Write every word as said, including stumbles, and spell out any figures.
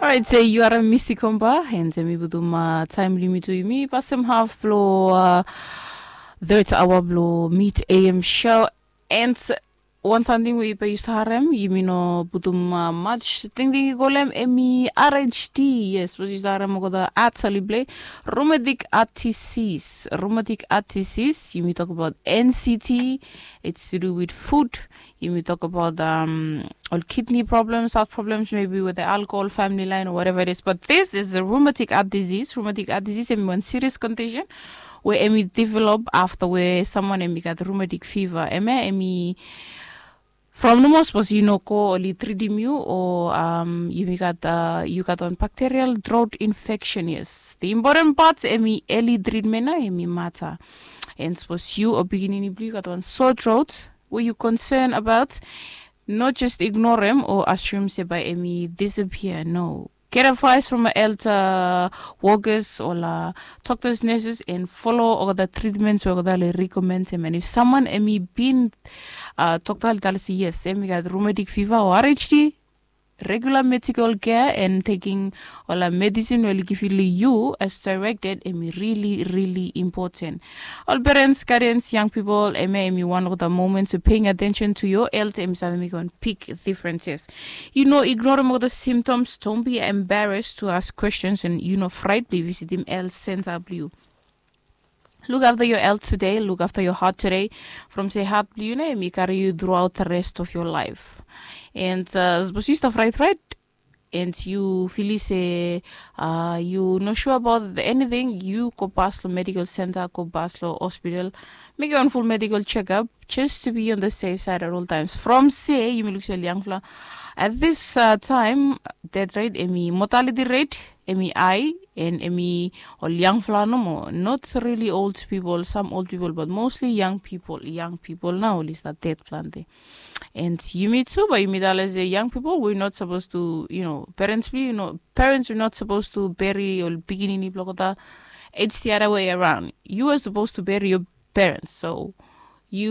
Alright, se yu are Misty Komba, and se mi putum uh, time limit to yumi pasem half blo uh, third hour blo mid A M show. And one something we pe yu start harem, yumi no putum uh, much thing thing you call him emi R H D. Yes, was you start harem go the at salible rheumatic heart disease. Rheumatic heart disease, yumi talk about N C T. It's to do with food. Yumi talk about um, all kidney problems, heart problems, maybe with the alcohol, family line, or whatever it is. But this is a rheumatic heart disease. Rheumatic heart disease emi one serious condition where emi develop after where someone emi got rheumatic fever. Emi emi from no more suppose you no ko oli treatim you or um, you got uh, you got on bacterial throat infection. Yes, the important part emi early treatment na emi matter. And suppose you or beginning blue got on sore throat where you concern about, not just ignore him or assume se by emi disappear. No, get advice from an elder workers or la doctors, nurses, and follow all the treatments we the recommend him. And if someone emi been uh, doctor tell us yes, emi got rheumatic fever or R H D, regular medical care and taking all the medicine will give you as directed emi really really important. All parents, guardians, young people, emi emi one of the moments of paying attention to your health emi save make one big differences. You know, ignore all the symptoms, don't be embarrassed to ask questions, and you know, fright be visit him health center blue. Look after your health today, look after your heart today. From say heart blue na emi carry you throughout the rest of your life. And uh, suppose you start right, right, and you feel say uh, you not sure about anything, you go past the medical center, go past the hospital, make your own full medical checkup just to be on the safe side at all times. From say you may look say young fla at this uh, time, that right, emi mortality rate emi high, and emi all young fla no more, not really old people, some old people, but mostly young people. Young people now is that dead plenty. And you me too, but you me tell us young people, we're not supposed to, you know, parents we, you know, parents are not supposed to bury or beginning block. It's the other way around. You are supposed to bury your parents. So